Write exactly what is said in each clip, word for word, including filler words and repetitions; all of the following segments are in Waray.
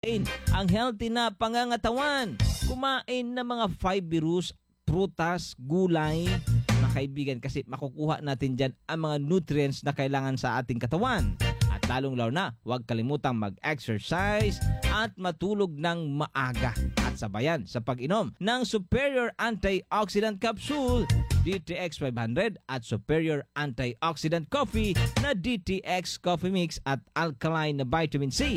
Ang healthy na pangangatawan. Kumain ng mga fibrous, prutas, gulay, mga kaibigan, kasi makukuha natin diyan ang mga nutrients na kailangan sa ating katawan. At lalong-lalo na, huwag kalimutang mag-exercise at matulog ng maaga. At sabayan sa pag-inom ng Superior Antioxidant Capsule, D T X five hundred, at Superior Antioxidant Coffee na D T X Coffee Mix at Alkaline na Vitamin C,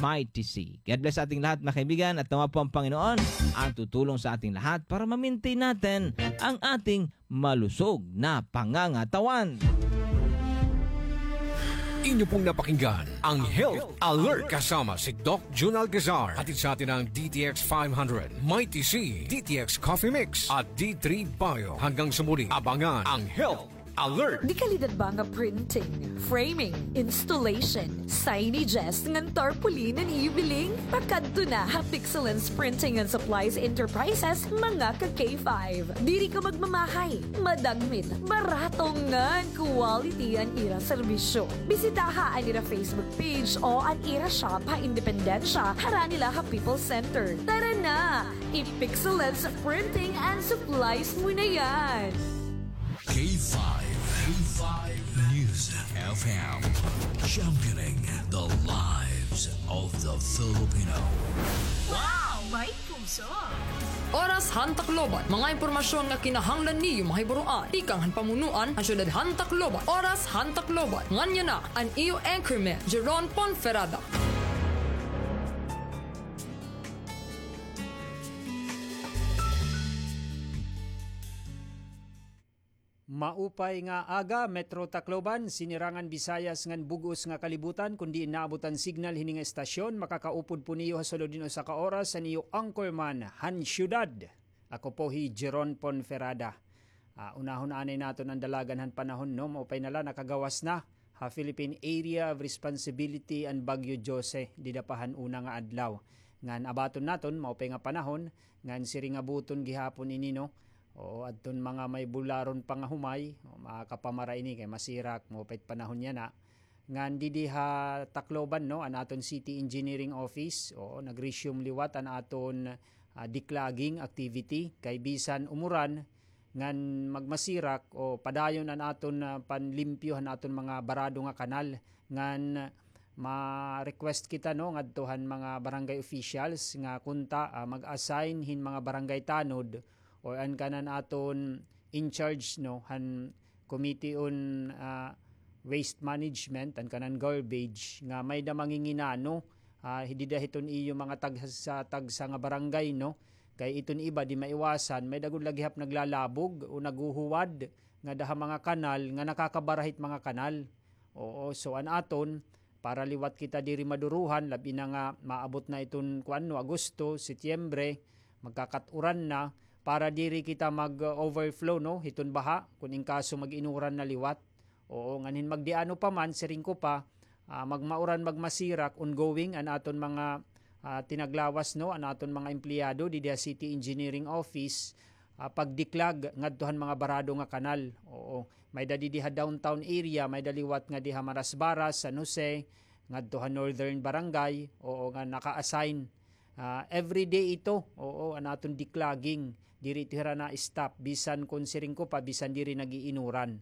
Mighty C. God bless sa ating lahat, mga kaibigan, at nawa po ang Panginoon ang tutulong sa ating lahat para ma-maintain natin ang ating malusog na pangangatawan. Inyo pong napakinggan ang Health Alert kasama si Doc Jun Alcazar. Hatid sa atin ng D T X five hundred, Mighty C, D T X Coffee Mix, at D three Bio. Hanggang sa muli, abangan ang Health Alert. Dekalidad ba nga printing, framing, installation, signages ngan tarpaulin an iyo biling? Pakadto na ha Pixelance Printing and Supplies Enterprises, mga ka K five. Diri ka magmamahay, madagmit, barato ngan quality an ira serbisyo. Bisitaha an ira Facebook page o an ira shop ha Independencia, harani la ha People's Center. Tara na! I-Pixelance Printing and Supplies mo na yan! K five, K five News F M, championing the lives of the Filipino. Wow! May puso! Oras han Tacloban. Mga impormasyon nga kinahanglan niyo mahibaroan. Tikang han pamunuan han syudad han Tacloban. Oras han Tacloban. Ngan yana an iyo anchorman, Jeron Ponferrada. Maupay nga aga, Metro Tacloban, Sinirangan Visayas ngan bug-os nga kalibutan. Kon diin naabot an signal hini nga estasyon, makakaupod po niyo ha sulod hin usa ka oras an iyo anchorman han syudad. Ako po hi Jeron Ponferrada. Ah, unahon anay naton an dalagan han panahon, no? Maupay na la, nakagawas na ha Philippine Area of Responsibility an Bagyo Jose dida pa han una nga adlaw. Ngan abaton naton maupay nga panahon, ngan siring nga buton gihapon ini, no? Oo, adton mga may bularon pa nga humay, o, makakapamara ini kay masirak, maupay it panahon yana. Ngan didi ha Tacloban, no, an aton City Engineering Office, oo, nag-resume liwat an aton, ah, declogging activity kay bisan umuran, ngan magmasirak o padayon an aton, ah, panlimpyo han aton mga barado nga kanal, ngan ma-request kita, no, ngadto han mga barangay officials nga kunta, ah, mag-assign hin mga barangay tanod or an kanan aton in charge, no, han Committee on, ah, Waste Management, an kanan garbage, nga may-ada manginginano, ah, dida hiton iyo mga tagsa, tagsa nga barangay, no? Kay iton iba di maiwasan, may-ada gud la gihap naglalabog o naghuhuwad ngada ha mga kanal nga nakakabara hit mga kanal. Oo, so an aton, para liwat kita diri maduruhan, labi na nga maabot na iton, kuan, no, Agosto, Setyembre, magkakat-uran na, para diri kita mag-overflow, no, hiton baha, kon in kaso mag-inuran na liwat. Oo, ngan hin magdiano pa man, siring ko pa, ah, magmauran, magmasirak, ongoing an aton mga, ah, tinaglawas, no, an aton mga empleyado didi ha City Engineering Office, ah, pagdiklag ngadto han mga barado nga kanal. Oo, may-ada didi ha downtown area, may-ada liwat ngadi ha Marasbaras, San Jose, ngadto ha Northern Barangay, oo, nga naka-assign. Ah, everyday ito, oo, an aton declogging. Diri ito hira na-stop, bisan kon siring ko pa, bisan diri nag-iinuran.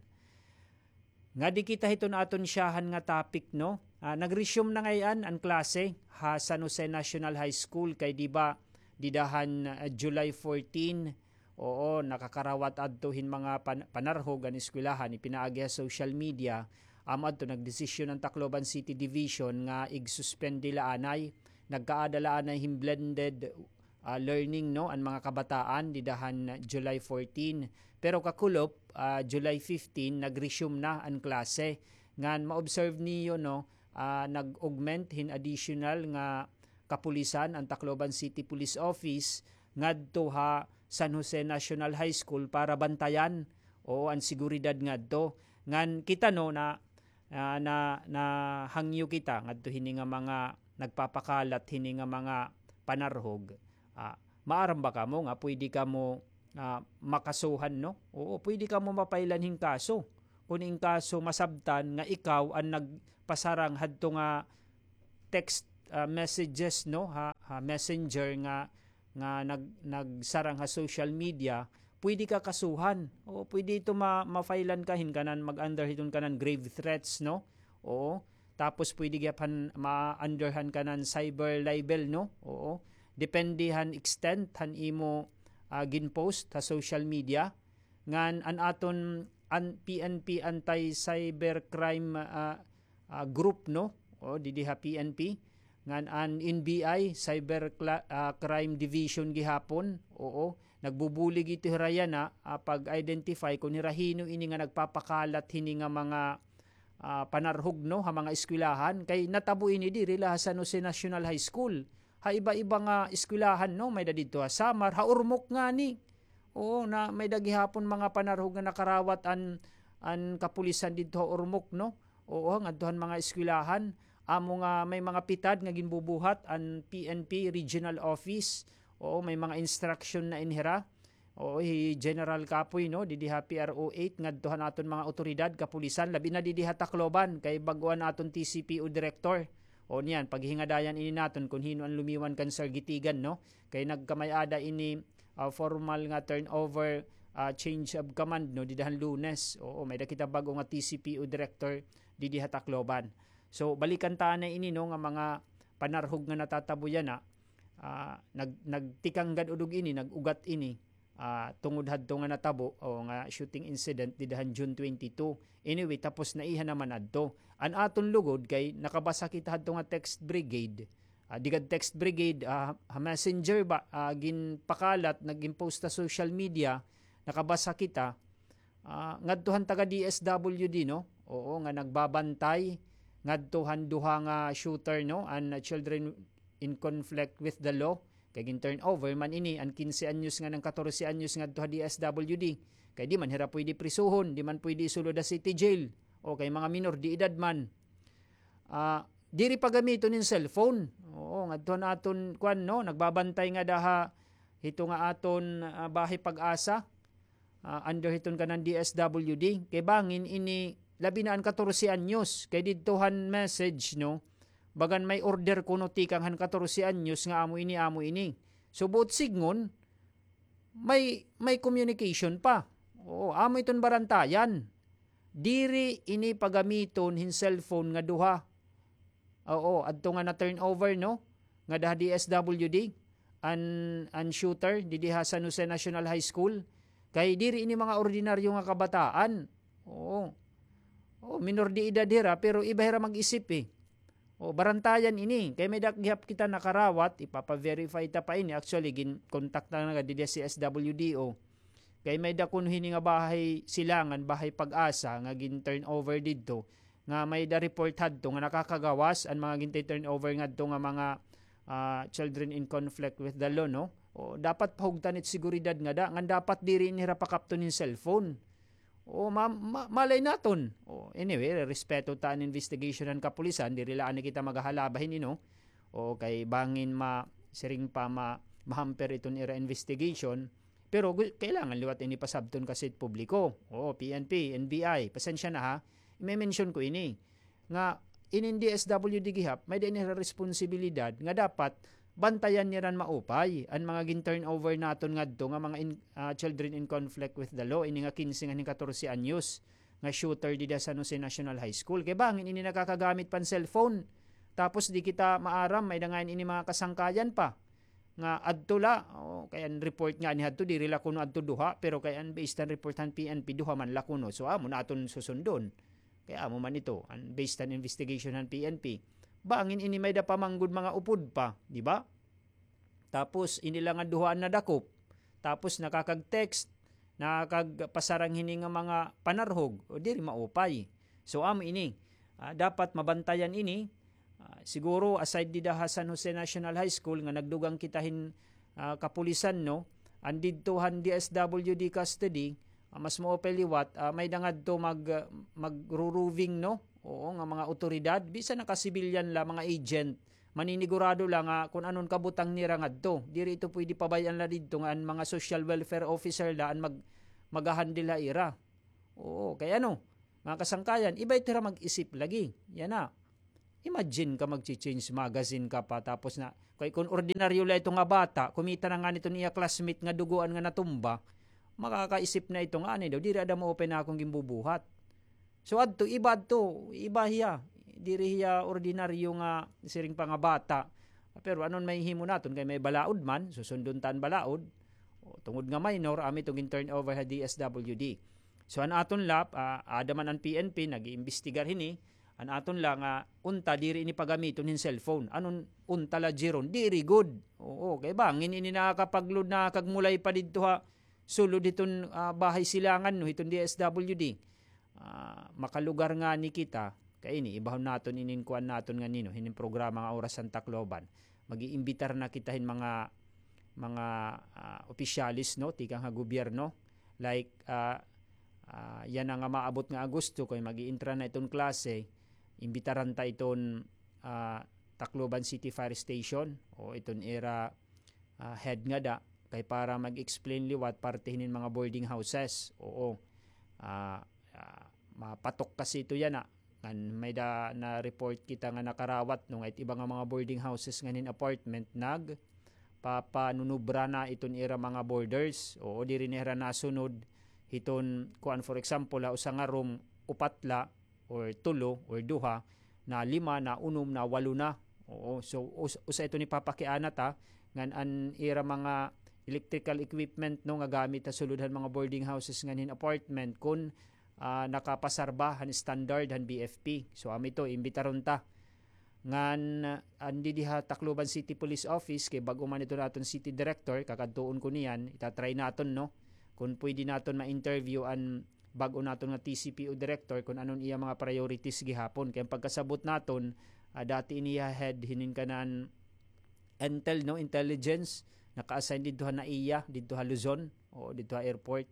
Ngadi kita hiton aton syahan nga topic, no? Ah, nag-resume na ngay-an an klase ha San Jose National High School kay di ba dida han, ah, July fourteen, oo, nakakarawat adto hin mga pan-, panarhog an eskwelahan, ipinaagi ha social media, amo adto nagdesisyon an Tacloban City Division nga ig-suspend la anay, nagkaada la anay hin blended ah, learning, no, an mga kabataan dida han July fourteen. Pero kakulop, ah, July fifteen, nag-resume na an klase. Ngan ma-observe niyo, no, ah, nag-augment hin additional nga kapulisan an Tacloban City Police Office ngadto ha San Jose National High School para bantayan, oo, an seguridad ngadto. Ngan kita, no, na ah, na, nahangyo kita ngadto hini nga mga nagpapakalat hini nga mga panarhog. Ah, maaram ba kamo nga pwede kamo, ah, makasuhan, no? Oo, pwede kamo mapailan hin kaso. Kon in kaso masabtan nga ikaw an nagpasarang hadto nga text, ah, messages, no, ha, ha messenger nga, nga nag-, nagsarang ha social media, pwede ka kasuhan. O, pwede ito ma-, ma-filean ka, hin kanan, mag-under hiton kanan grave threats, no? Oo. Tapos pwede gihap han ma-under han kanan cyber libel, no? Oo. Depende han extent han imo, ah, ginpost ha social media. Ngan an aton an-, P N P anti-cybercrime, ah, ah, group, no? O, didi ha P N P. Ngan an N B I, Cyber Cla-, ah, Crime Division gihapon. Oo, nagbubulig ito hira yana, ah, pag-identify kon hira hin-o ini nga nagpapakalat hini nga mga, ah, panarhog, no, ha mga eskwelahan. Kay natabo ini diri la ha San Jose National High School. Ha iba-iba nga eskwelahan, no, may-ada didto ha Samar, ha Ormoc ngani. Oo, na may-ada gihapon mga panarhog nga nakarawat an, an kapulisan didto ha Ormoc, no? Oo, ngadto han mga eskwelahan. Amo nga may mga pitad nga ginbubuhat an P N P Regional Office. Oo, may mga instruction na ini hira. Oo, hi General Kapoy, no, didi ha P R O eight, ngadto han aton mga otoridad, kapulisan, labi na didi ha Tacloban, kay bag-o an aton T C P O director. O niyan, paghingadayan ini naton kon hin-o an lumiwan kan Sir Gitigan, no? Kay nagkamay-ada ini, ah, formal nga turnover, ah, change of command, no, dida han Lunes. Oo, may-ada kita bag-o nga T C P O director didi ha Tacloban. So, balikan ta na ini, no, nga mga panarhog nga natatabo yana, ah, nag-, nagtikang gad udog ini, nag-ugat ini, ah, tungod hadto nga natabo, o nga shooting incident dida han June twenty-two. Anyway, tapos na iha naman adto. An aton lugod kay nakabasa kita hadto nga text brigade. Ah, di gad text brigade, ah, ha messenger ba, ah, ginpakalat, nagin-post ha social media, nakabasa kita, ah, ngadto han taga D S W D, no? Oo, nga nagbabantay ngadto han duha nga shooter, no? An, ah, children in conflict with the law. Kay gin-turnover man ini an kinse anyos ngan an katorse anyos ngadto ha D S W D. Kay di man hira pwede prisuhon, di man pwede isulod ha city jail. O kay mga minor de edad man. Ah, diri pagamiton hin cellphone. Oo, ngadto han aton, kuan, no, nagbabantay ngada ha, hito nga aton, ah, Bahay Pag-asa, ah, under hiton kanan D S W D. Kay bangin ini, labi na an katorse anyos. Kay didto han message, no, bagan may order kuno tikang han katorse anyos nga amo ini, amo ini. So, buot sidngon, may, may communication pa. Oo, amo iton barantayan. Diri ini pagamiton hin cellphone nga duha. Oo, adto nga na-turnover, no? Ngada ha D S W D, an, an shooter, didi ha San Jose National High School. Kay diri ini mga ordinaryo nga kabataan. Oo. Oo, minor de edad hira, pero iba hira mag-isip, eh. O, barantayan ini. Kay may-ada gihap kita nakarawat, ipapa-verify ta pa ini. Actually, gin-contact na nga didi ha C S W D O. Kay may-ada kuno hini nga bahay silangan, Bahay Pag-asa, nga gin-turnover didto. Nga may-ada report hadto nga nakakagawas an mga ginti-turnover ngadto nga mga, ah, children in conflict with the law, no? O, dapat pahugtan it seguridad ngada, ngan dapat diri ini hira pakapton hin cellphone. O, ma-, ma-, malay naton. O, anyway, respeto ta an investigation han kapulisan, diri la anay kita maghahalaba hini, no? O, kay bangin ma-, siring pa ma-, ma-hamper iton ira investigation. Pero gu-, kailangan liwat ini pasabton kasi it publiko. O, P N P, N B I, pasensya na ha. Ime-mention ko ini. Nga inin D S W D gihap, may-ada ini hira responsibilidad nga dapat bantayan nira maupay an mga gin-turnover naton ngadto nga mga in-, ah, children in conflict with the law, ini nga kinse ngan hin katorse anyos nga shooter dida San Jose National High School. Kay bangin ini nakakagamit pa hin cellphone. Tapos di kita maaram, may-ada ngay-an ini mga kasangkayan pa. Nga adto la, o, kay an report ngani hadto, diri la kuno adto duha, pero kay an based han report han P N P, duha man la kuno. So, amo na aton susundon. Kay amo man ito, an based han investigation han P N P. Bangin ini may-ada pa man gud mga upod pa, di ba? Tapos, ini la nga duha an nadakop. Tapos, nakakag-text, nakakagpasarang hini nga mga panarhog, o diri maupay. So, amo ini. Ah, dapat mabantayan ini. Ah, siguro, aside dida ha San Jose National High School, nga nagdugang kita hin, ah, kapulisan, no? An didto han D S W D custody, ah, mas maupay liwat, ah, may-ada ngadto mag-, magro-roving, no? Oo, nga mga otoridad, bisan nakasibilyan la, mga agent, maninigurado la nga kon ano an kabutang nira ngadto. Diri ito pwede pabay-an la didto nga an mga social welfare officer la an mag-, maghahandle ha ira. Oo, kay ano, mga kasangkayan, iba ito hira mag-isip lagi. Yana. Imagine ka, magchi-change magazine ka pa, tapos na, kay kun ordinaryo la ito nga bata, kumita na ngani iton iya classmate nga dugoan nga natumba, makakaisip na ito nga, anay daw, diri ada maupay an akon ginbubuhat. So, adto, iba adto, iba hiya. Diri hiya ordinaryo nga siring pa nga bata. Pero anon mahihimo naton, kay may balaod man, susundon ta an balaod. O, tungod nga minor, amo ito gin-turn over ha D S W D. So, an aton la, ah, ada man an P N P, nag-iimbestigar hini, an aton la nga unta, diri ini pagamiton hin cellphone. Anon unta la, Jeron? Diri gud. Oo, kay bangin ini nakakapag-load na kag mulay pa didto ha sulod hiton, ah, bahay silangan, no, hiton D S W D. Ah, makalugar ngani kita, kay ini, ibahon naton inin kuan naton nganhi, no, hinin programa nga Oras han Tacloban. Mag-iimbitar na kita hin mga, mga, ah, opisyales, no, tikang ha gobyerno. Like, ah, ah, yana nga maabot nga Agosto, kay mag-iintra na iton klase, imbitaran ta iton, ah, Tacloban City Fire Station, o iton ira, ah, head ngada, kay para mag-explain liwat parte hinin mga boarding houses. Oo. Ah, ah, mapatok kasi ito yana. Ngan may-ada na-report kita nga nakarawat, no, nga it iba nga mga boarding houses ngan hin apartment nagpapanunubra na iton ira mga boarders. Oo, diri na hira nasunod hiton, kuan, for example, ha usa nga room, upat la, or tulo, or duha, na lima, na unom, na walo na. Oo, so us-, usa ito ni papakiana ta, ngan an ira mga electrical equipment, no, nga gamit ha sulod han mga boarding houses ngan hin apartment, kun, ah, nakapasar ba han standard han B F P. So, amo ito, imbitaron ta. Ngan, ah, an didi ha Tacloban City Police Office, kay bag-o man ito naton city director, kakadtuon ko niyan, itatry naton, no? Kun pwede naton ma-interview an bag-o naton nga T C P O director kun anon iya mga priorities gihapon. Kay an pagkasabot naton, ah, dati ini iya head hinin kanan intel, no, intelligence, naka-assign didto ha NAIA, didto ha Luzon, o didto ha airport.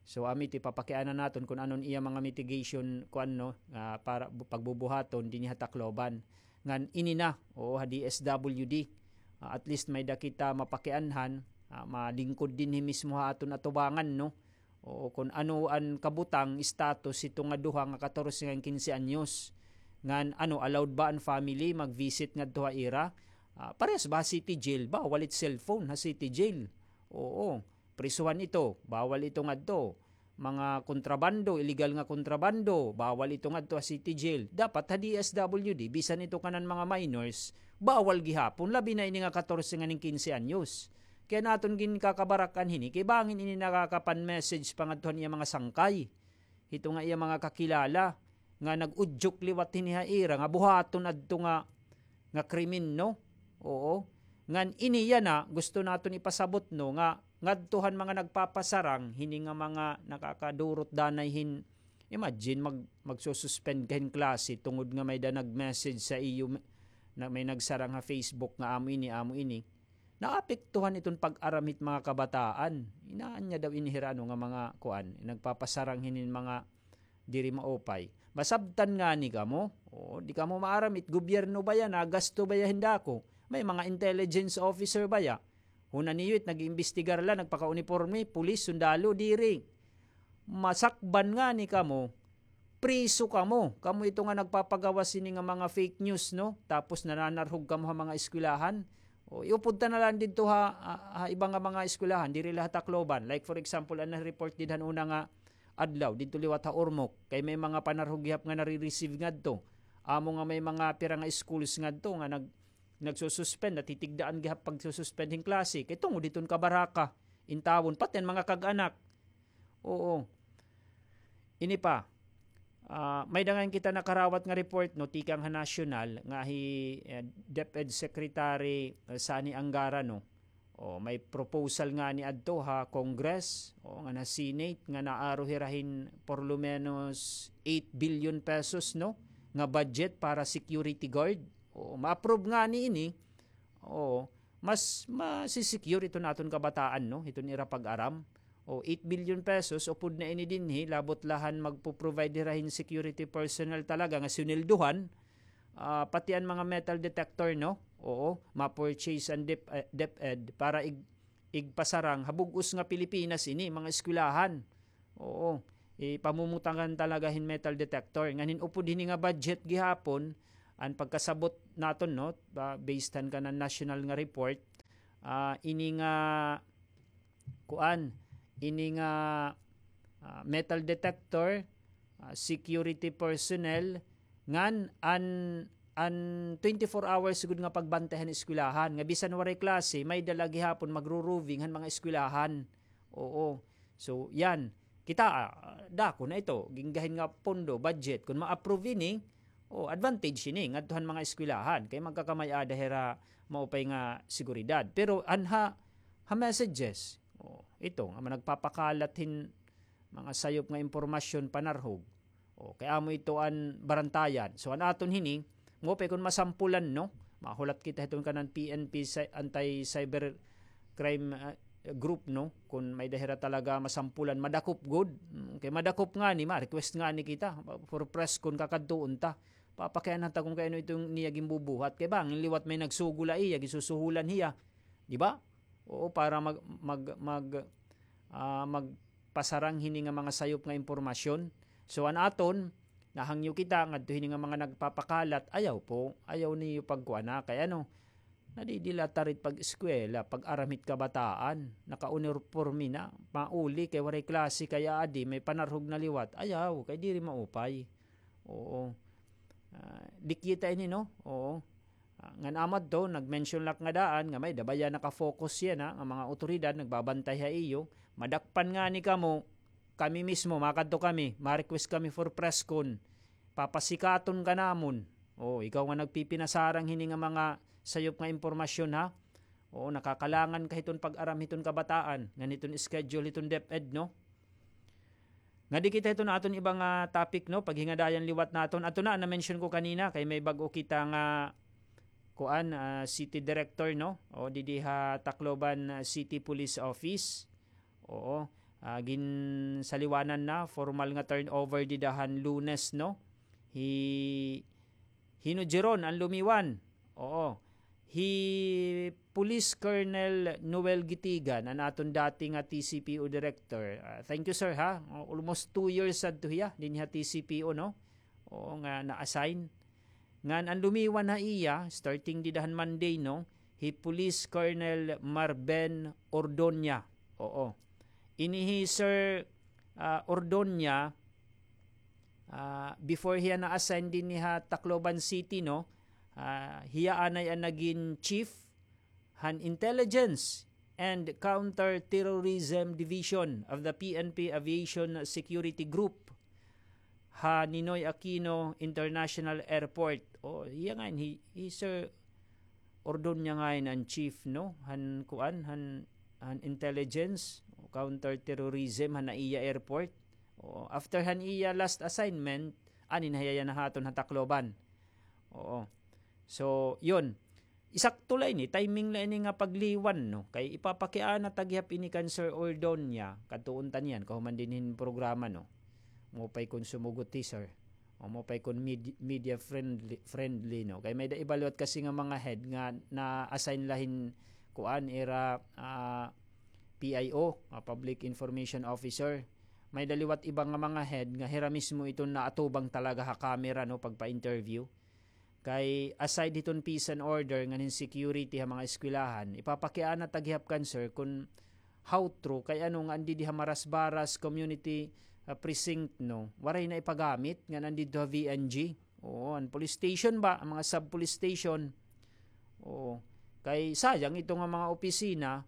So, amo ito, ipapakiana naton kun anon iya mga mitigation, kuan, no, ah, para bu-, pagbubuhaton dinhi ha Tacloban. Ngan ini na, oo, ha D S W D. Ah, at least may-ada kita mapakianhan, ah, malingkod dinhi mismo ha aton atubangan, no? Oo, kun ano an kabutang, status hito nga duha nga katorse ngan kinse anyos. Ngan ano, allowed ba an family mag-visit ngadto ha ira? Ah, parehas ba ha city jail? Bawal it cellphone ha city jail. Oo, prisuhan ito. Bawal ito ngadto. Mga kontrabando, illegal nga kontrabando, bawal ito ngadto ha city jail. Dapat ha D S W D, bisan ito kanan mga minors, bawal gihapon, labi na ini nga katorse ngan hin kinse anyos. Kay an aton ginkakabarak-an hini, kay bangin ini nakakapan-message pa ngadto han iya mga sangkay. Hito nga iya mga kakilala, nga nag-udyok liwat hini ha ira, nga buhaton adto nga, nga krimen, no? Oo. Ngan ini yana, gusto naton ipasabot, no, nga ngadto han mga nagpapasarang, hini nga mga nakakadurot danay hin, imagine, mag-, magsususpend ka hin klase tungod nga may-ada nag-message sa iyo, na may nagsarang ha Facebook nga amo ini, amo ini. Naapektuhan iton pag-aram hit mga kabataan. Inaanya daw ini hira, ano, nga mga kuan, nagpapasarang hinin mga diri maupay. Masabtan ngani kamo. O, di kamo maaram, it gobyerno baya, nagasto baya hin dako. May mga intelligence officer baya. Huna niyo it nag-iimbestigar la, nagpakauniporme, pulis, sundalo, diri. Masakban ngani kamo, priso kamo. Kamo ito nga nagpapagawas sini nga mga fake news, no? Tapos nananarhog kamo ha mga eskwelahan. O, iupod ta na lang didto ha, ha, ha iba nga mga eskwelahan, diri la ha Tacloban. Like, for example, an na-report did han una nga adlaw, didto liwat ha Ormoc. Kay may mga panarhog gihap nga nare-receive ngadto. Amo nga may mga pira nga schools ngadto nga nag-, nagsususpend, natitigdaan gihap pagsususpend hin klase. Kay tungod hiton kabaraka, intawon, pati an mga kag-anak. Oo. Ini pa, ah, may-ada ngay-an kita nakarawat nga report, no, tikang ha nasyonal, nga hi, eh, DepEd Secretary, eh, Sonny Angara, no. O, may proposal ngani adto ha Congress, o, ngan ha Senate, nga naaro hira hin por lo menos eight billion pesos, no, nga budget para security guard. O, ma-approve ngani ini, o, mas masi-secure iton aton kabataan, no, hiton ira pag-aram. O, eight billion pesos, upod na ini dinhi, labot la han magpo-provide hira hin security personnel talaga nga sinweldohan, ah, pati an mga metal detector, no? Oo, ma-purchase an Dep-, eh, DepEd para ig-, igpasarang ha bug-os nga Pilipinas ini, mga eskwelahan. Oo, ipamumutangan talaga hin metal detector. Ngan hin upod hini nga budget gihapon, an pagkasabot naton, no, ba, based han kanan national nga report, ah, ini nga, kuan, ini nga, ah, metal detector, ah, security personnel, ngan an, an twenty-four hours gud nga pagbantay han eskwelahan, nga bisan waray klase, may-ada la gihapon magro-roving han mga eskwelahan. Oo. So, yan. Kita, ah, dako na ito. Ginggahin nga pondo, budget. Kun ma-approve ini, oh, advantage ini ngadto han mga eskwelahan. Kay magkakamay-ada hira maupay nga seguridad. Pero anha, ha messages, oh, ito, nga nagpapakalat hin mga sayop nga impormasyon panarhog. O, kay amo ito an barantayan. So, an aton hini, maupay kun masampulan, no? Mahulat kita hiton kanan P N P cy-, anti-cyber crime, ah, group, no? Kun may-ada hira talaga masampulan, madakop gud. Mm, kay madakop ngani, ma-request ngani kita. For press kun kakadtuon ta. Papakiana ta kun kay ano iton niya ginbubuhat. Kay bangin liwat may nagsugo la iya, gisusuhulan hiya. Di ba? Oo, para mag-, mag-, mag-, ah, magpasarang hini nga mga sayop nga impormasyon. So, an aton, nahangyo kita ngadto hini nga mga nagpapakalat, ayaw po, ayaw niyo pagkuana. Kay ano, nadidila ta rit pag-eskwela, pag-aram hit kabataan, nakauniporme na, mauli kay waray klase, kay adi, may panarhog na liwat, ayaw, kay diri maupay. Oo. Ah, di kita ini, no? Oo. Ah, ngan amad to, nag-mention la ak nga daan, nga may-ada baya naka-focus yana, nga mga awtoridad, nagbabantay ha iyo. Madakpan ngani kamo, kami mismo, makadto kami, ma-request kami for press con. Papasikaton ka namon. O, ikaw nga nagpipinasarang hini nga mga sayop nga impormasyon, ha? Oo, nakakalangan ka hiton pag-aram hiton kabataan, ngan hiton schedule hiton DepEd, no? Ngadi kita hiton aton iba nga topic, no? Paghingadayan liwat naton. Ato na, na-mention ko kanina, kay may bag-o kita nga, kuan, ah, city director, no? O, didi ha Tacloban, ah, City Police Office. Oo. Ah, ginsaliwanan na, formal nga turnover dida han Lunes, no? Hi Hino Jeron an lumiwan. Oo. Hi Police Colonel Noel Gitigan, an aton dati nga T C P O director. Ah, thank you, sir, ha. Oh, almost two years sadto hiya dinhi ha T C P O, no? Oo, nga na-assign. Ngan an lumiwan ha iya, starting dida han Monday, no? Hi Police Colonel Marben Ordonia. Oo. Ini hi Sir, ah, Ordonia, ah, before hiya na-assign dinhi ha Tacloban City, no? Ah, hiya anay an nagin chief han Intelligence and Counter-Terrorism Division of the P N P Aviation Security Group ha Ninoy Aquino International Airport. O, iya ngayon, hi, hi Sir Ordonia ngayon an chief, no? Han kuan, han, han intelligence, counter-terrorism, han NAIA airport. O, after han iya last assignment, ani na hiya yana ha aton ha Tacloban. Oo. So, yun. Isakto la ini, timing la ini nga pagliwan, no? Kay ipapakiana ta gihap ini kan Sir Ordonia, kadtuon ta niyan, kahuman dinhi hin programa, no? Maupay kon sumugot hi Sir. O maupay kon med-, media friendly, friendly, no? Kay may-ada iba liwat kasi nga mga head nga na-assign la hin, kuan, ira, ah, P I O, ah, Public Information Officer. May-ada liwat iba nga mga head nga hira mismo iton naatubang talaga ha camera, no, pagpa-interview. Kay aside hiton peace and order ngan hin security ha mga eskwelahan, ipapakiana ta gihap kan Sir kon how true, kay ano nga an didi ha Marasbaras Community, ah, Precinct, no, waray na ipagamit ngan an didto ha V N G. Oo, an police station ba, an mga sub-police station. Oo. Kay sayang ito nga mga opisina,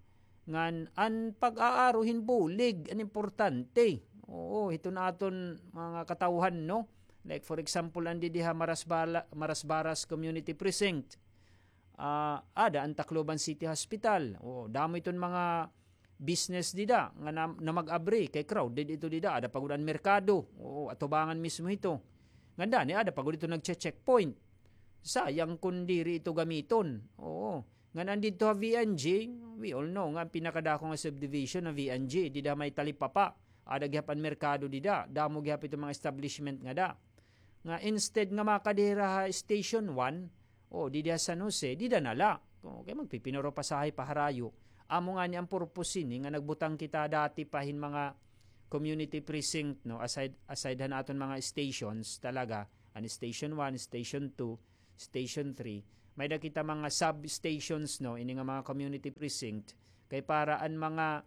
ngan an pag-aaro hin bulig an importante. Oo, hiton aton mga katawhan, no? Like, for example, an didi ha Marasbala-, Marasbaras Community Precinct. Ah, ada an Tacloban City Hospital. Oo, damo iton mga business dida nga na, na mag-abri kay crowded ito dida. Ada pa gud an merkado. Oo, atubangan mismo ito. Ngandani, ada pa gud ito nagche-checkpoint. Sayang kon diri ito gamiton. Oo. Ngan an didto ha V N G, we all know nga an pinakadako nga subdivision ha V N G, dida ha may Talipapa. Ada gihap an merkado dida, damo gihap ito mga establishment ngada. Nga instead nga makadi hira ha Station one, o didi ha San Jose, dida na la. O, kay magpipinuro pasahe pa harayo. Amo ngani an purpose hini nga nagbutang kita dati pa hin mga community precinct, no, aside, aside han aton mga stations talaga, an Station one, Station two, Station three. May-ada kita mga substations, no, ini nga mga community precinct. Kay para an mga,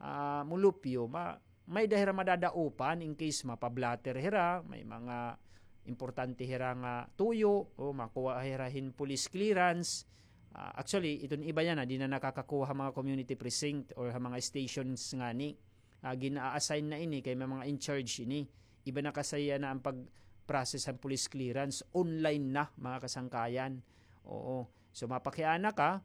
ah, mulupyo, ma-, may-ada hira madadaupan in case mapa-blotter hira, may mga importante hira nga tuyo, o makuha hira hin police clearance. Ah, actually, iton iba yana, di na nakakakuha ha mga community precinct or ha mga stations ngani. Ah, gina-assign na ini kay may mga in charge ini. Iba na kasi yana an pag-process han police clearance. Online na, mga kasangkayan. Oo. So, mapakiana ka,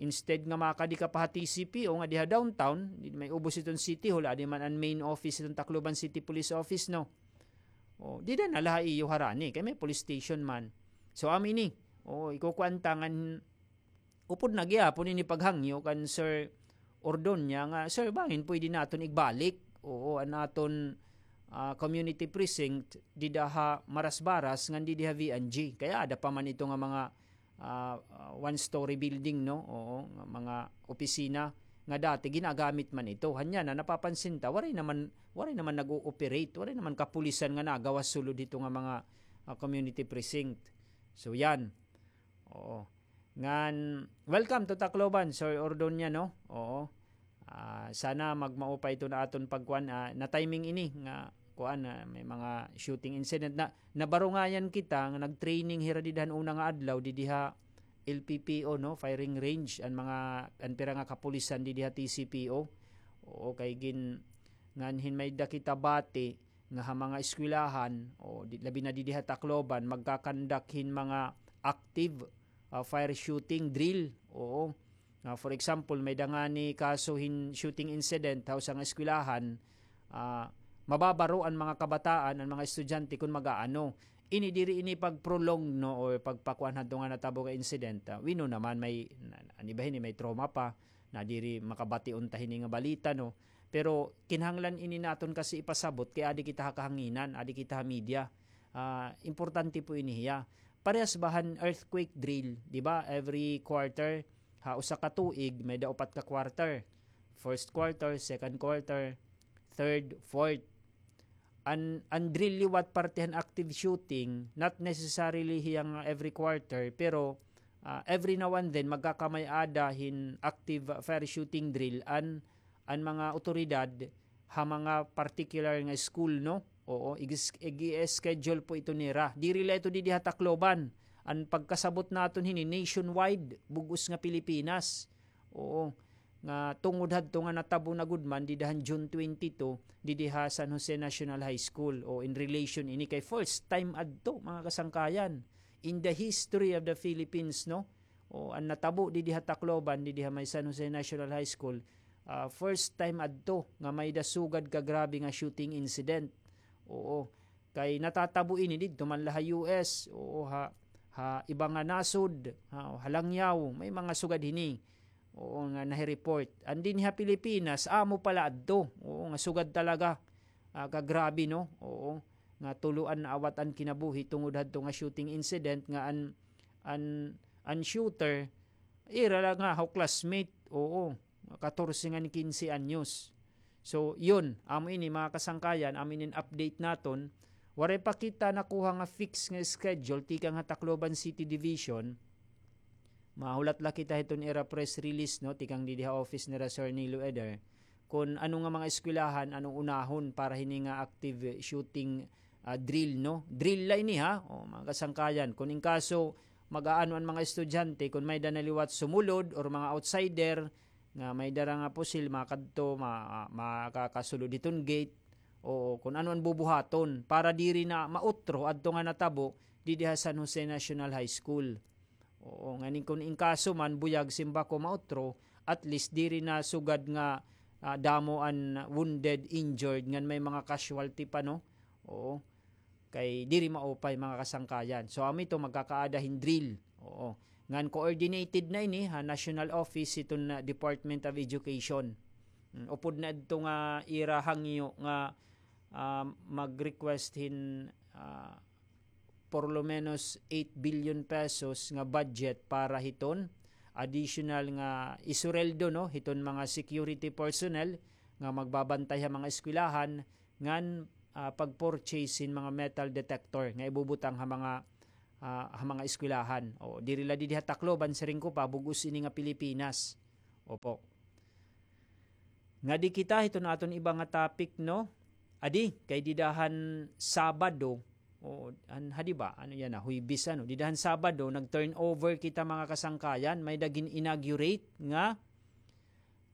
instead nga makadi ka pa ha T C P O nga diha downtown, di may ubos iton City Hall, adi man an main office iton Tacloban City Police Office, no? O, dida na la ha iyo harani, kay may police station man. So, amo ini. O, ikukuan ta ngan upod na gihapon ini paghangyo kan Sir Ordonia nga, "Sir, bangin pwede naton igbalik, oo, an aton, ah, community precinct dida ha Marasbaras ngan didi ha V N G." Kay aada pa man ito nga mga, ah, ah, one-story building, no? Oo, nga mga opisina nga dati ginagamit man ito. Hanya na, napapansin ta, waray naman, waray naman nag-ooperate, waray naman kapulisan nga nagawas sulod hito nga mga, ah, community precinct. So, yan. Oo. Ngan, welcome to Tacloban, Sir Ordonia, no? Oo. Ah, sana magmao pa ito na aton pagkuan, ah, na-timing ini nga kuan, ah, may mga shooting incident na nabarungayan kita nga nag-training hira dida han una nga adlaw didi ha L P P O, no, firing range, an mga, an pira nga kapulisan didi ha T C P O. Oo, kay gin-, ngan hin may-ada kita bati nga ha mga eskwelahan, o di, labi na didi ha Tacloban, magkakandak hin mga active, ah, fire shooting drill. Oo. Ah, for example, may-ada ngani kaso hin shooting incident ha usa nga eskwelahan, ah, mababaro an mga kabataan, an mga estudyante kon mag-aano. Ini diri ini pag-prolong, no, o pagpakuan hadto nga natabo nga incident. Ah, we know naman may, na, an iba hini may trauma pa, na diri makabati unta hini nga balita, no. Pero kinahanglan ini naton kasi ipasabot kay adi kita ha kahanginan, adi kita ha media. Ah, importante po ini hiya. Parehas ba han earthquake drill, di ba? Every quarter, ha usa ka tuig, may-ada upat ka quarter. First quarter, second quarter, third, fourth. An, an drill liwat parte han active shooting, not necessarily hiya nga every quarter, pero, ah, every now and then, magkakamay-ada hin active fire shooting drill an, an mga awtoridad ha mga particular nga school, no? Oo, ig-, ig-schedule po ito nira. Diri la ito didi ha Tacloban. An pagkasabot naton hini, nationwide, bug-os nga Pilipinas. Oo. Nga tungod hadto nga natabo na gud man dida han June twenty-two, didi ha San Jose National High School. O, in relation ini kay first time adto, mga kasangkayan, in the history of the Philippines, no? O, an natabo didi ha Tacloban, didi ha may San Jose National High School, ah, first time adto nga may-ada sugad ka grabe nga shooting incident. Oo. Kay natatabo ini didto man la ha U S, oo, ha, ha iba nga nasod, ha, ha Langiao, may mga sugad hini. Oo, nga nahi-report. An dinhi ha Pilipinas, amo pala adto. Oo, nga sugad talaga. Ah, kagrabe, no? Oo, nga tulo an naawat an kinabuhi tungod hadto nga shooting incident nga an, an, an shooter, ira la nga ho classmate. Oo, katorse ngan kinse anyos. So, yun, amo ini, mga kasangkayan, amo ini an update naton. Waray pa kita nakuha nga fix nga schedule tikang ha Tacloban City Division. Mahulat la kita hiton ira press release, no, tikang didi ha office nira Sir Nilo Eder, kon ano nga mga eskwelahan an unahon para hini nga active shooting, ah, drill, no? Drill la ini, ha? O, mga kasangkayan, kon in kaso mag-aano an mga estudyante, kon may-ada na liwat sumulod or mga outsider, nga may dara nga pusil, makadto, ma-, makakasulod hiton gate. Oo, kon ano an bubuhaton para diri na mautro adto nga natabo didi ha San Jose National High School. Oo, nganin kon in kaso man, buyag, simbako, mautro, at least diri na sugad nga, ah, damo an wounded, injured, ngan may mga casualty pa, no? Oo. Kay diri maupay, mga kasangkayan. So, amo ito, magkakaada hin drill. Oo. Ngan coordinated na ini ha national office hiton, ah, Department of Education. Mm, upod na adto nga ira hangyo nga, ah, mag-request hin, ah, por lo menos eight billion pesos nga budget para hiton additional nga isureldo, no, hiton mga security personnel nga magbabantay ha mga eskwelahan, ngan, ah, pag-purchase hin mga metal detector nga ibubutang ha mga, ha, ha mga eskwelahan. O, diri la didi ha Tacloban, siring ko pa, bug-os ini nga Pilipinas. Opo. Ngadi kita hiton aton iba nga topic, no? Adi, kay dida han Sabado, o, an, ha, di ba? Ano yana? Huwebes, ano? Dida han Sabado, nag-turnover kita, mga kasangkayan. May-ada gin-inaugurate nga,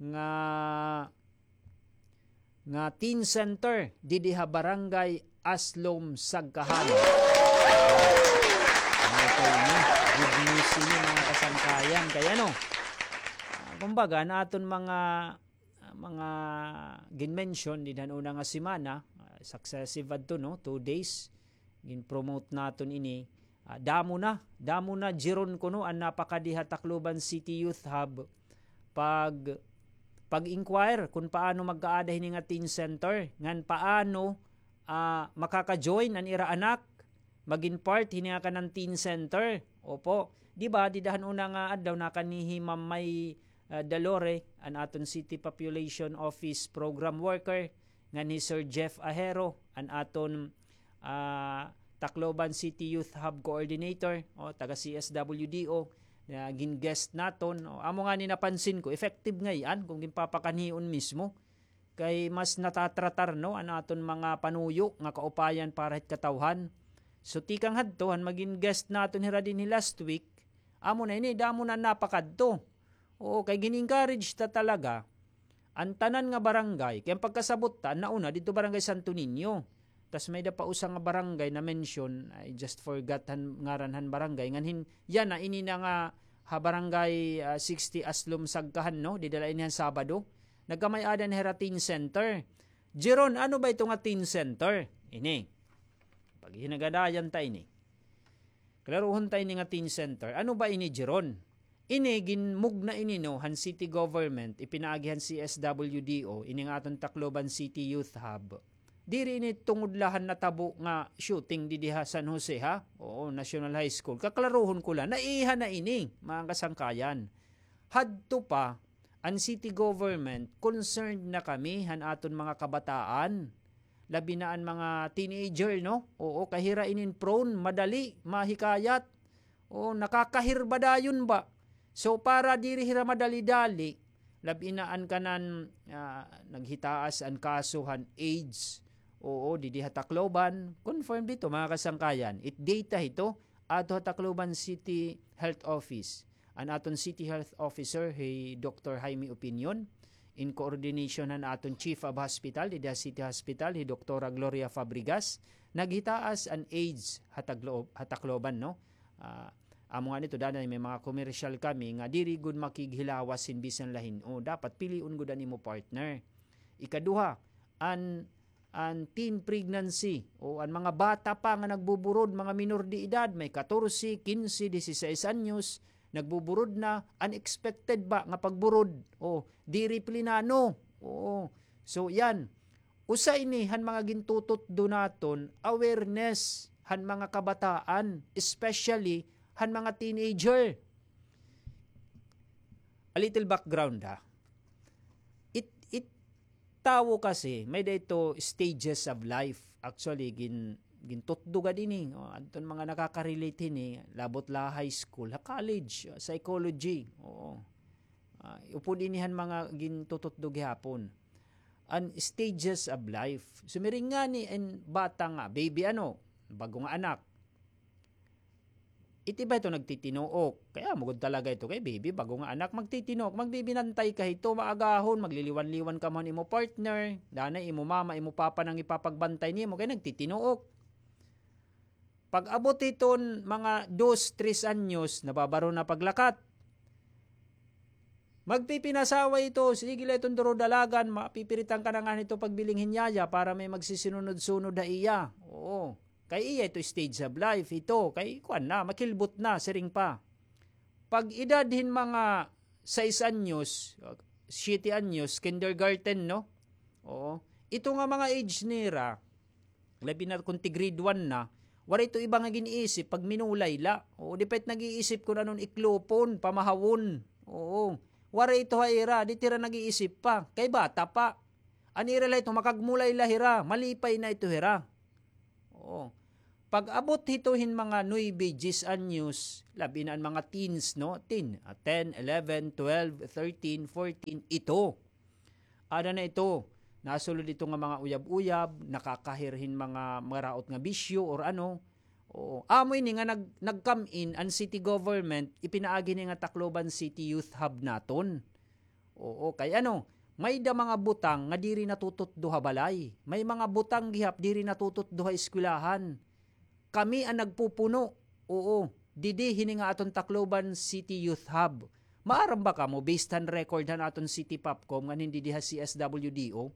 nga, nga teen center didi ha Barangay Aslom, Sagkahan. Ano ito, no? Good news ini, mga kasangkayan. Kay ano, ah, kumbaga, an aton mga, ah, mga gin-mention dida han una nga semana, ah, successive adto, no? Two days, gin-promote naton ini. Ah, damo na, damo na, Jeron, kuno an napakadi ha Tacloban City Youth Hub pag, pag-inquire kun paano magkaada hini nga teen center, ngan paano, ah, makaka-join an ira anak magin part hini nga kanan teen center. Opo. Di ba, dida han una nga adlaw, nakanhi hi Ma'am May, ah, Dalore, an aton City Population Office Program Worker, ngan hi Sir Jeff Ahero, an aton, ah, Tacloban City Youth Hub Coordinator, o, taga C S W D O, nga gin-guest naton. O, amo ngani napansin ko, effective ngay-an kon ginpapakanhion mismo. Kay mas natatratar, no, an aton mga panuyo nga kaupayan para hit katawhan. So, tikang hadto, han magin guest naton hira dinhi last week, amo na ini, damo na napakadto. Oo, kay gin-encourage ta talaga an tanan nga barangay. Kay an pagkasabot ta, an nauna, didto Barangay Santo Niño. Tas may-ada pa usa nga barangay na mention, I just forgot han ngaran han barangay. Ngan hin, yana, ini na nga ha Barangay, ah, sixty Aslom, Sagkahan, no? Dida la ini han Sabado. Nagkamay-ada na hira teen center. Jeron, ano ba ito nga teen center? Ini. Paghinagadayan ta ini. Klaruhon ta ini nga teen center. Ano ba ini, Jeron? Ini, ginmugna ini, no, han city government, ipinaagi han C S W D O, ini nga aton Tacloban City Youth Hub. Diri ini tungod la han natabo nga shooting didi ha San Jose, ha? Oo, National High School. Kaklaruhon ko la, naiha na ini, mga kasangkayan. Hadto pa, an city government, concerned na kami han aton mga kabataan. Labi na an mga teenager, no? Oo, kay hira inin prone, madali, mahikayat. Oo, nakakahirba dayon ba? So, para diri hira madali-dali, labi na an kanan, ah, naghitaas an kaso han AIDS. Oo, didi ha Tacloban. Confirmed ito, mga kasangkayan. It data ito, ato ha Tacloban City Health Office. An aton City Health Officer, hi Doktor Jaime Opinion, in coordination han aton Chief of Hospital, didi ha City Hospital, hi Doktora Gloria Fabregas, naghitaas an AIDS ha Taglo-, ha Tacloban, no? Ah, amo ngani ito, danay may mga commercial kami nga diri gud makighilawas hin bisan la hin-o. Dapat pilion gud an imo partner. Ikaduha, an an teen pregnancy, o an mga bata pa nga nagbuburod, mga minor de edad, may katorse, kinse, disisais anyos, nagbuburod na, unexpected ba nga pagburod, o diri plinano. Oo. So, yan. Usa ini han mga gintututdo naton, awareness han mga kabataan, especially han mga teenager. A little background, ha. It, it, tawo kasi, may-ada ito stages of life. Actually, gin-, gintutdo gad ini. O, adton mga nakaka-relate hini, labot la high school, ha college, psychology. Oo. Ah, upod ini han mga gintututdo gihapon. An stages of life. Sumiring ngani an bata nga, baby ano, bag-o nga anak. It iba ito nagtitinuok. Kay amo gud talaga ito kay baby, bag-o nga anak, magtitinuok, magbibinantay ka hito, maagahon, magliliwan-liwan kamo han imo partner, danay imo mama, imo papa na an ipapagbantay nimo, kay nagtitinuok. Pag-abot hiton mga dos, tres anyos, nababaro na paglakat. Magpipinasawa ito, sige la iton duro dalagan, mapipiritan ka na ngani hito pagbiling hin yaya para may magsisinunod-sunod ha iya. Oo. Kay iya ito stage of life, ito. Kay kuan na, makilbot na, siring pa. Pag edad hin mga sais anyos, siyete anyos, kindergarten, no? Oo. Ito nga mga age nira, labi na kon ti grade one na, waray ito iba nga gin-iisip pag minulay la. Oo, di pa it nag-iisip kon anon iklopon, pamahawon. Oo. Waray ito ha ira, di it ira nag-iisip pa. Kay bata pa. An ira la ito, makagmulay la hira, malipay na ito hira. Oo. Pag-abot hito hin mga nuebe, diyes anyos, labi na an mga teens, no? Teen, ah, ten, eleven, twelve, thirteen, fourteen, ito. Ada na ito, nasulod ito nga mga uyab-uyab, nakakahir hin mga maraot nga bisyo or ano. Oo. Amo ini nga nag-, nag-come in an city government, ipinaagi ini nga Tacloban City Youth Hub naton. Oo, kay ano, may-da mga butang nga diri natututdo ha balay. May mga butang gihap diri natututdo ha eskwelahan. Kami an nagpupuno. Oo, didi hini nga aton Tacloban City Youth Hub. Maaram ba kamo, based han record han aton City Popcom ngan hin didi ha C S W D O?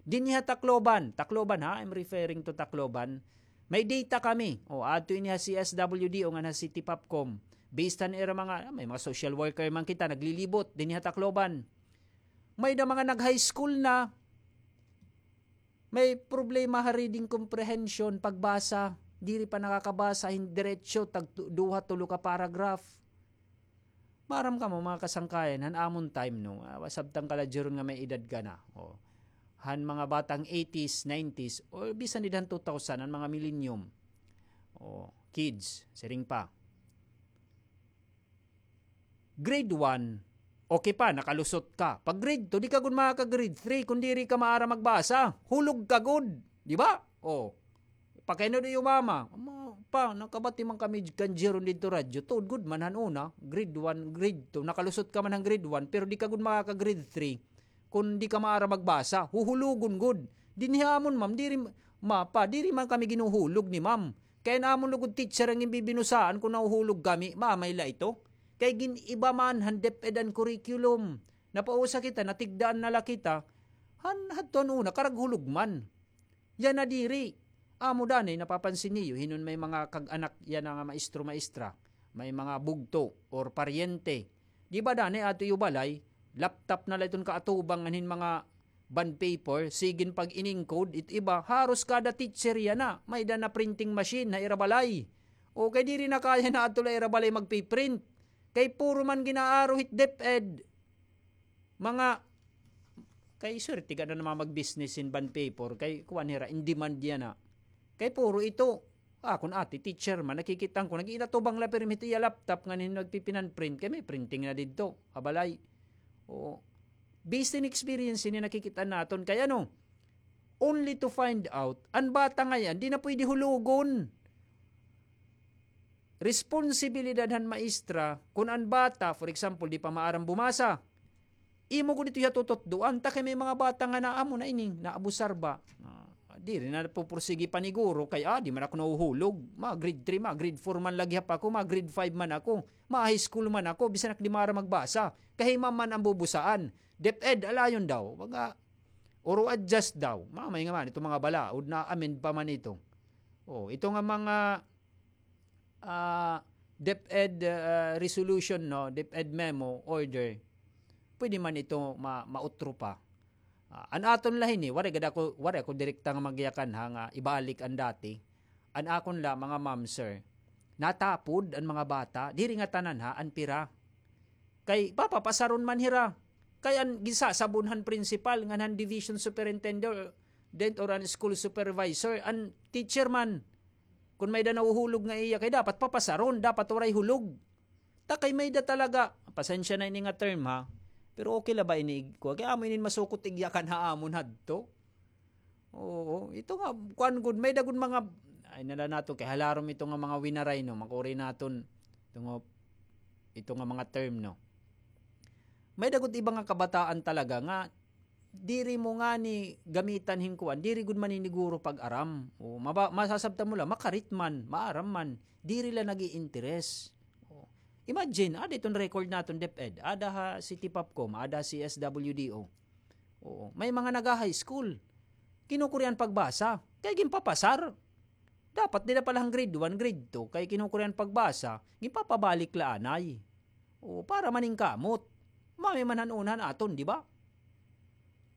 Dinhi ha Tacloban, Tacloban ha, I'm referring to Tacloban. May data kami. O, adto ini ha C S W D O ngan ha City Popcom. Based han ira mga, may mga social worker man kita, naglilibot dinhi ha Tacloban. May-da mga nag-high school na, may problema ha reading comprehension, pagbasa, diri pa nakakabasa hin diretso, tag tu-, duha, tulo ka paragraph. Maaram kamo, mga kasangkayan, han amon time, no, ah, sabtang ka la dya ron nga may edad ka na, o, han mga batang eighties, nineties, o bisan dida han two thousand, an mga millennium, o, kids, siring pa. Grade one, okay pa, nakalusot ka. Pag grade two, di ka gud makaka-grade three kon diri ka maaram magbasa. Hulog ka gud, di ba? O. Pakainod iyo mama, "Ma, pa, nakabati man kami kan dya ron didto radyo." Tuod gud man han una, grade one, grade two, nakalusot ka man han grade one, pero di ka gud makaka-grade three kon di ka maaram magbasa. Huhulogon gud. Dinhi ha amon, ma'am, diri, ma, pa, diri man kami ginhuhulog ni ma'am. Kay an amon lugod teacher an ginbibinusaan kon nahuhulog kami, mamay la ito. Kay gin-iba man han DepEd an curriculum. Napausa kita, natigdaan na la kita. Han, hadto han una, karaghulog man. Yana diri. Amo danay, napapansin niyo, hinon may mga kag-anak yana nga maestro, maestra, may mga bugto or paryente. Di ba danay, adto iyo balay, laptop na la iton kaatubang ngan hin mga bond paper, sigin pag-inencode, it iba, haros kada teacher yana, may-da na printing machine ha ira balay. O kay diri na kaya na adto la ira balay magpi-print. Kay puro man gin-aaro hit DepEd. Mga, kay swerte gad an mga mag-business hin bond paper, kay kuan hira, in demand yana. Kay puro ito, akon ate, teacher man, nakikita ko, nag-iinatubang la pirmi hit iya laptop ngan hin nagpipinan-print, kay may printing na didto ha balay. Oo. Based in experience ini nakikita naton, kay ano, only to find out, an bata ngay-an, di na pwede hulogon. Responsibilidad han maestra, kon an bata, for example, di pa maaram bumasa, imo gud ito iya tututdoan, ta kay may mga bata nga naamo na ini, naabusar ba? Ah, diri na pupursigi paniguro, kay, ah, di man ako nahuhulog. Mga grade three, mga grade four man la gihap ako, mga grade five man ako, mga high school man ako, bisan ak di maaram magbasa. Kay hi ma'am man an bubusaan. DepEd, alayon daw. Mga, uro adjust daw. Mamay nga man, ito mga balaod, na-amend pa man ito. Oh, ito nga mga ah, DepEd, ah, resolution, no, DepEd memo, order, pwede man ito ma-, mautro pa. Ah, an aton la hini, waray gad ako, waray ako direkta nga magyakan ha, nga ibalik an dati. An akon la, mga ma'am, sir, natapod an mga bata, diri nga tanan ha, an pira. Kay papapasaron man hira. Kay an ginsasabon han principal ngan han division superintendent or an school supervisor, an teacher man. Kon may-da nahuhulog nga iya, kay dapat papasaron, dapat waray hulog. Ta kay may-da talaga, pasensya na ini nga term ha, pero okay la ba ini igkuha? Kay amo inin masukot igyakan ha amon hadto. Oo, ito nga, kuan gud, may-da gud mga, ay na la naton, kay halarom ito nga mga winaray, no, makuri naton, ito nga, ito nga mga term, no. May-da gud iba nga kabataan talaga nga, diri mo ngani gamitan hin kuan, diri gud maniniguro pag-aram. O, maba-, masasabtan mo la, makarit man, maaram man, diri la nag-iinteres. O, imagine, ada iton record naton, DepEd, ada ha City Popcom, ada ha C S W D O. Oo, may mga naga-high school. Kinukurian pagbasa, kay ginpapasar. Dapat dida pa la han grade one, grade two, kay kinukurian pagbasa, ginpapabalik la anay. Oo, para maningkamot. Mami man han una han aton, di ba?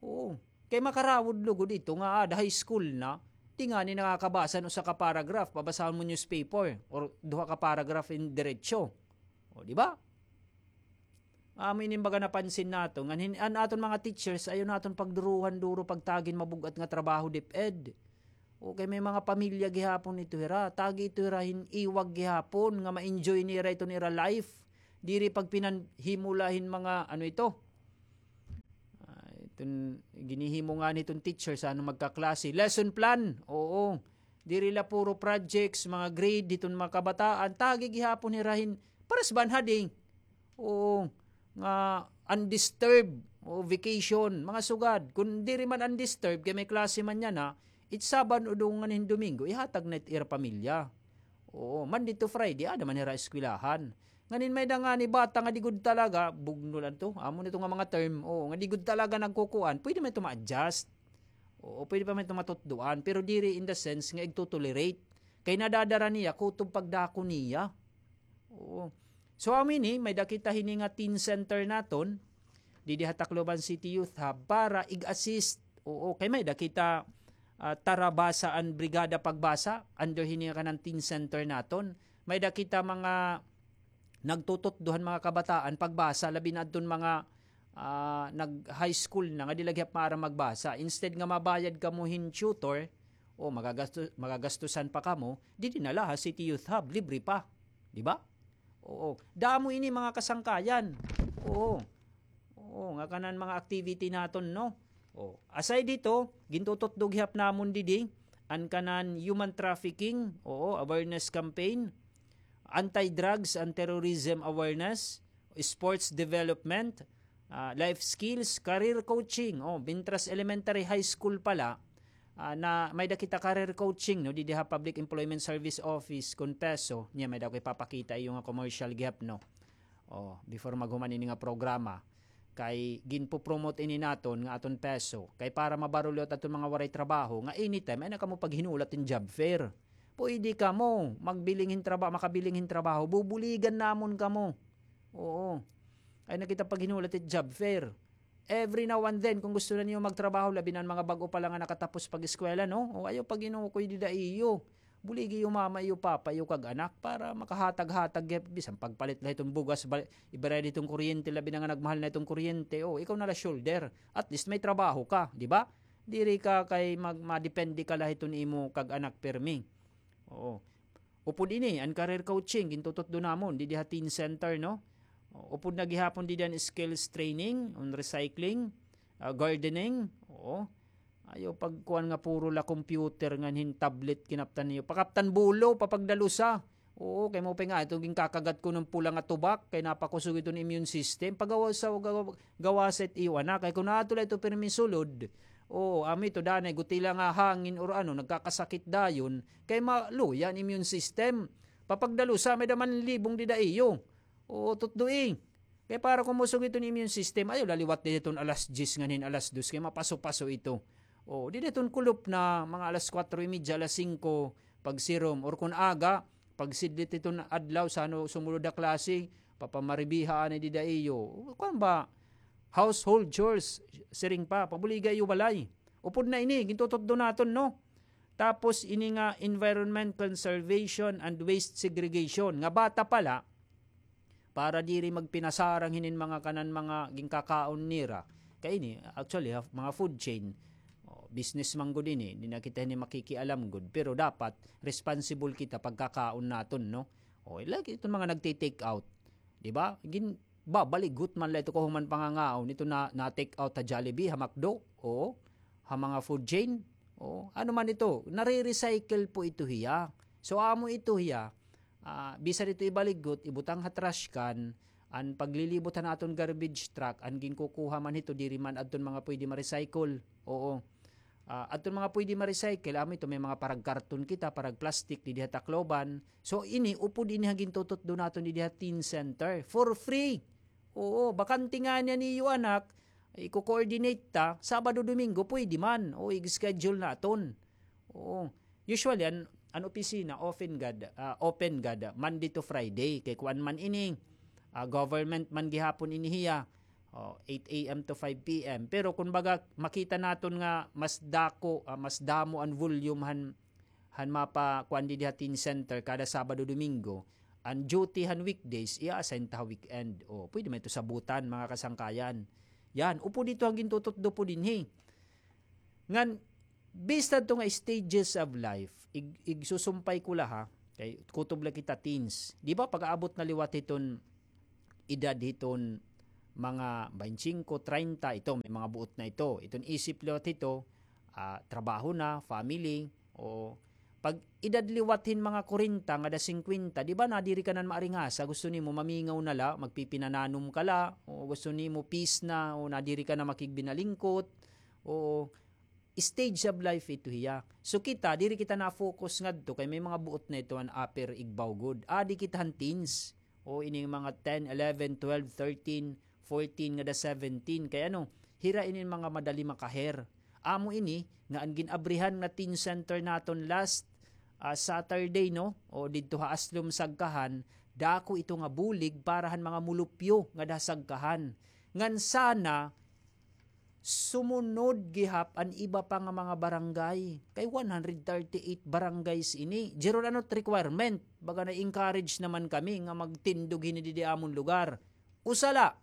Oo. Kay makarawod lugod ito nga ada high school na, di ngani nakakabasa hin usa ka paragraph, pabasahon mo newspaper, or duha ka paragraph in diretso. O, di ba? Amo ini baga napansin naton, ngan hin-, an aton mga teachers, ayaw naton pagduruhan duro pagtagi hin mabug-at nga trabaho, DepEd. O kay may mga pamilya gihapon ito hira, tagi ito hira hin iwag gihapon nga ma-enjoy nira iton ira life. Diri pagpinanhimula hin mga ano ito. Ah, iton ginihimo nga niton teacher sa ano magkaklase. Lesson plan. Oo. Diri la puro projects, mga grade, hiton mga kabataan. Tagi gihapon hira hin pares ba an hading? Oo, nga undisturbed, o vacation, mga sugad. Kun diri man undisturbed, kay may klase man yana, it Sabado o dungan hin Domingo, ihatag na it ira pamilya. Oo, Monday to Friday, ada man hira eskwelahan. Nganin may da ngani bata nga di gud talaga, bugno lang to. Amo nito nga mga term, oo, nga di gud talaga nagkukuan, pwede man ito ma-adjust. Oo, pwede pa man ito matutdoan, pero diri in the sense nga igtotolerate. Kay nadadara niya, kutob pagdako niya. Oo. So, amo ini, may da kita hini nga teen center naton, didi ha Tacloban City Youth Hub, para ig-assist. Oo, kay may da kita, ah, Tarabasa an Brigada Pagbasa, under hini nga kanan teen center naton. May da kita mga nagtututdo han mga kabataan pagbasa, labi na adton mga, ah, nag-high school na nga di la gihap maaram magbasa. Instead nga mabayad kamo hin tutor, o magagasto-, magagastusan pa kamo, didi na la ha City Youth Hub, libre pa. Di ba? Oo. Damo ini mga kasangkayan. Oo. Oo, nga kanan mga activity naton, no? O, aside dito, gintututdo gihap namon didi, an kanan human trafficking, oo, awareness campaign, anti-drugs and terrorism awareness, sports development, ah, life skills, career coaching. O, mintras elementary, high school pa la, ah, na may da kita career coaching, no, didi ha Public Employment Service Office, kun PESO, niya may da ko ipapakita iyo nga commercial gihap, no. O, before maghuman ini nga programa, kay ginpo-promote ini naton nga aton PESO, kay para mabarul-ot aton mga waray trabaho, nga anytime, ay na kamo paghinulat hin job fair. Pwede kamo magbiling hin traba-, makabiling hin trabaho, bubuligan namon kamo. Oo. Ay na kita paghinulat hin job fair. Every now and then, kung gusto na niyo magtrabaho, labi na an mga bag-o pa la nga nakatapos pag-eskwela, no? O, ayaw pag-inukoy dida iyo. Buligi iyo mama, iyo papa, iyo kag anak para makahatag-hatag, eh, bisan pagpalit la hiton bugas, bal-, ibayad hiton kuryente, labi na nga nagmahal na hiton kuryente, o, ikaw na la shoulder. At least may trabaho ka, di ba? Diri ka kay mag-, madepende ka la hiton imo kag anak permi. Oo. Upod ini, an career coaching, gintututdo namon, didi ha Teen Center, no? O, upod na gihapon didi an skills training, on recycling, ah, gardening, oo. Ayaw pagkuan nga puro la computer ngan hin tablet kinaptan niyo. Pakaptan bulo, papagdalusa. Oo, kay mao pa nga, ito ginkakagat ko ng pula nga tubak, kay napakusog ito ng immune system. Pagawa sa, gawa, gawa sa it iyo anak. Kay kung ato la ito pirmi sulod, oo, amo ito, danay, gutila nga hangin or ano, nagkakasakit dayon, kay maluya an immune system. Papagdalusa, may daman libong dida iyo. Oo, tutdoi. Kay para kumusog iton immune system, ayaw la liwat dida iton alas diyes ngan hin alas dos, kay mapaso-paso ito. O, dida iton kulop na mga alas kwatro y media, alas singko, pagsirom. Or kun aga, pagsidlit iton adlaw, sa ano sumulod a klase, papamaribiha anay dida iyo. Kuan ba, household chores, siring pa, pabuliga iyo balay. Upod na ini, gintututdo naton, no? Tapos ini nga environment conservation and waste segregation. Nga bata pa la, para diri magpinasarang hinin mga kanan mga ginkakaon nira. Kay ini, actually, ha, mga food chain, o, business man gud ini, di na kita hini makikialam gud, pero dapat responsible kita pagkakaon naton, no? O, like iton mga nagti-take out, di ba? Gin-, babaligot man la ito kahuman pangangaon, ito na, na-take out ha Jollibee, ha McDo, o, ha mga food chain, o, ano man ito, nare-recycle po ito hiya. So, amo ito hiya, ah, bisan ito ibaligot, ibutang ha trash can, an paglilibot han aton garbage truck, an ginkukuha man hito, diri man adton mga pwede ma-recycle. Oo. Ah, adton mga pwede ma-recycle, amo ito, may mga parag karton kita, parag plastic, didi ha Tacloban. So, ini, upod ini ha gintututdo naton didi ha Teen Center. For free. Oo, bakante ngani an iyo anak, iko-coordinate ta, Sabado, Domingo, pwede man. O, i-schedule naton. Oo. Usually, an, an opisina, open gad, ah, open gad, ah, Monday to Friday. Kay kuan man ini, ah, government man gihapon ini hiya. O, eight a m to five p m. Pero kun baga, makita naton nga mas dako, ah, mas damo an volume han, han mapakuan didi ha Teen Center kada Sabado, Domingo. An duty han weekdays, i-assign ta ha weekend. O, pwede man ito sabutan, mga kasangkayan. Yan, upod ito an gintututdo po dinhi. Ngan, Based adto nga stages of life, ig-, igsusumpay ko la ha, kay kutob la kita teens. Di ba, pag-aabot na liwat hiton edad hiton mga baynte singko, treinta, ito, may mga buot na ito. Iton isip liwat hito, ah, trabaho na, family, o pag edad liwat hin mga kwarenta ngada singkwenta, di ba, nadiri ka na maaringasa, gusto nimo mamingaw na la, magpipinananom ka la, o gusto nimo peace na, o nadiri ka na makigbinalingkot, o stage of life ito hiya. So kita, diri kita na-focus ngadto kay may mga buot na ito an upper igbaw gud. Adi kita han teens. O ining mga ten, eleven, twelve, thirteen, fourteen, ngada seventeen. Kay ano, hira ini mga madali makaher. Amo ini nga an gin-abrihan nga teen center naton last, ah, Saturday, no? O didto ha Aslum Sagkahan, dako ito nga bulig para han mga mulupyo ngada ha Sagkahan. Ngan sana, sumunod gihap an iba pa nga mga barangay. Kay one hundred thirty-eight barangays ini. Jeron, ano it requirement? Baga na-encourage naman kami nga magtindog hini didi amon lugar. Usa la,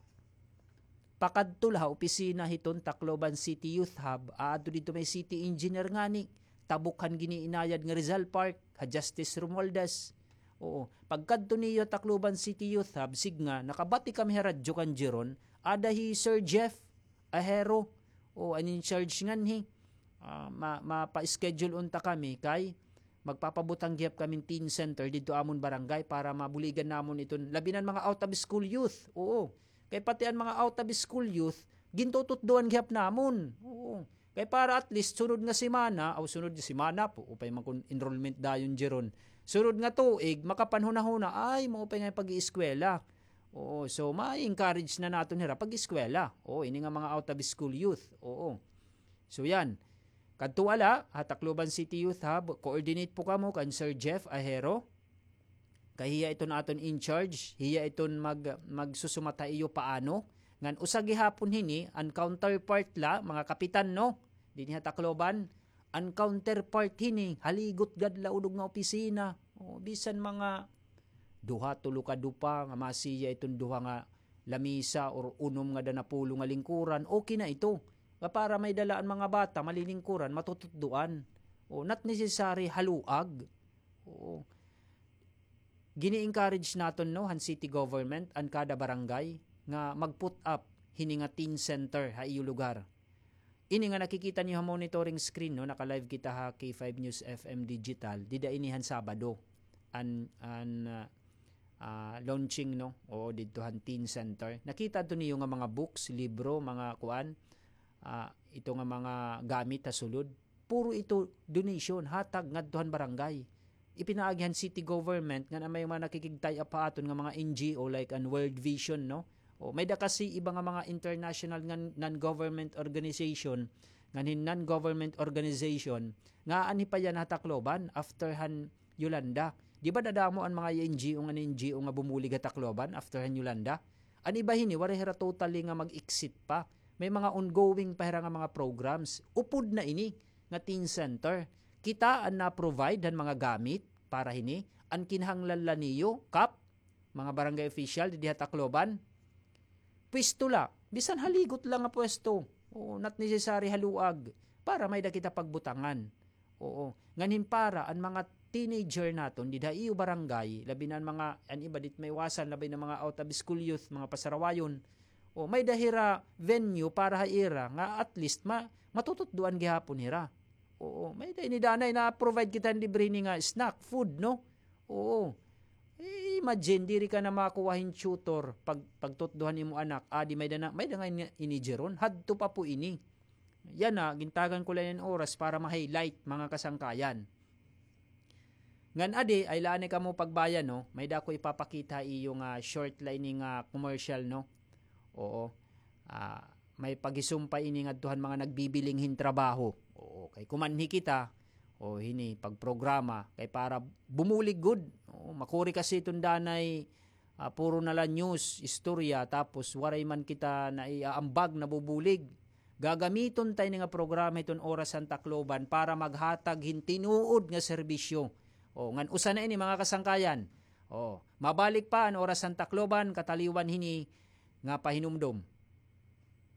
pakadto la ha opisina hiton Tacloban City Youth Hub, aadto didto may city engineer ngani, tabok han giniinayad nga Rizal Park, ha Justice Romualdez. Oo, pagkadto niyo Tacloban City Youth Hub, sige nga, nakabati kami ha radyo kan Jeron, ada hi Sir Jeff, Ahero, o an in charge nganhi, ah, ma-, mapa-schedule unta kami kay magpapabutang gihap kami hin teen center didto amon barangay para mabuligan namon iton labi na an mga out of school youth. Oo. Kay pati an mga out of school youth, gintututdoan gihap namon. Oo. Kay para at least sunod nga semana, aw sunod nga semana po, upay man kun enrollment dayon, Jeron. Sunod nga tuig, makapanhunahuna, ay, maupay nga pag-ieskwela. Oo, so ma-encourage na naton hira pag-eskwela. Oo, ini nga mga out of school youth. Oo. So yan. Kadto la ha Tacloban City Youth Hub, coordinate po kamo kan Sir Jeff Ahero. Kay hiya iton aton in charge, hiya iton mag-, magsusumat ha iyo paano. Ngan usa gihapon hini, an counterpart la, mga kapitan, no? Dinhi ha Tacloban, an counterpart hini, haligot gad la udog nga opisina. O, bisan mga duha, tulo ka dupa, nga masiya iton duha nga lamisa or unom nga da napulo nga lingkuran, okay na ito. Nga para may dala an mga bata, malilingkuran, matututdoan. O, not necessary haluag. Oo. Gini-encourage naton, no, han city government, an kada barangay, nga mag-put up hini nga teen center ha iyo lugar. Ini nga nakikita niyo ha monitoring screen, no, naka-live kita ha K five News F M Digital, dida ini han Sabado. An, an, ah, ah, launching, no, o didto han teen center. Nakita adto niyo nga mga books, libro, mga kuan, ah, ito nga mga gamit ha sulod. Puro ito donation, hatag ngadto han barangay. Ipinaagi han city government ngan may mga nakikig-tie up ha aton nga mga N G O like an World Vision, no? O, may da kasi iba nga mga international nga non-government organization, ngan hin non-government organization, nga anhi pa yana ha Tacloban after han Yolanda. Di ba dadamo an mga N G O nga N G O nga bumulig ha Tacloban after han Yolanda? An iba hini, waray hira totally nga mag-exit pa. May mga ongoing pa hira nga mga programs. Upod na ini nga teen center. Kita an na-provide han mga gamit para hini. An kinahanglan la niyo, Kap, mga barangay official didi ha Tacloban, pwesto la. Bisan haligot la nga pwesto. Oo, not necessary haluag. Para may da kita pagbutangan. Oo. Ngan hin para an mga teenager naton dida ha iyo barangay, labi na an mga, an iba di it maiwasan, labi na mga out of school youth, mga pasarawayon. O, may da hira venue para ha ira nga at least ma-, matututdoan gihapon hira. Oo, may da ini danay na-provide kita hin libre hini nga snack, food, no? Oo. I-, imagine, diri ka na makuha hin tutor pag, pagtutdohan imo anak. Adi, may da na, may da nga ini, ini Jeron. Hadto pa po ini. Yana, gintagan ko la hin oras para ma-highlight, mga kasangkayan. Ngan adi, ay la anay kamo pagbayan, no? May da ako ipapakita ha iyo nga short la ini nga commercial, no? Oo. Ah, may paghisumpay ini ngadto han mga nagbibiling hin trabaho. Oo, kay kumanhi kita, o hini, pagprograma, kay para bumulig gud. Oo, makuri kasi iton danay, ah, puro na la news, istorya, tapos waray man kita naiaambag, nabubulig. Gagamiton ta ini nga programa hiton Oras han Tacloban para maghatag hin tinuod nga serbisyo. O, ngan usa na ini, mga kasangkayan. O, mabalik pa an Oras han Tacloban, kataliwan hini nga pahinumdom.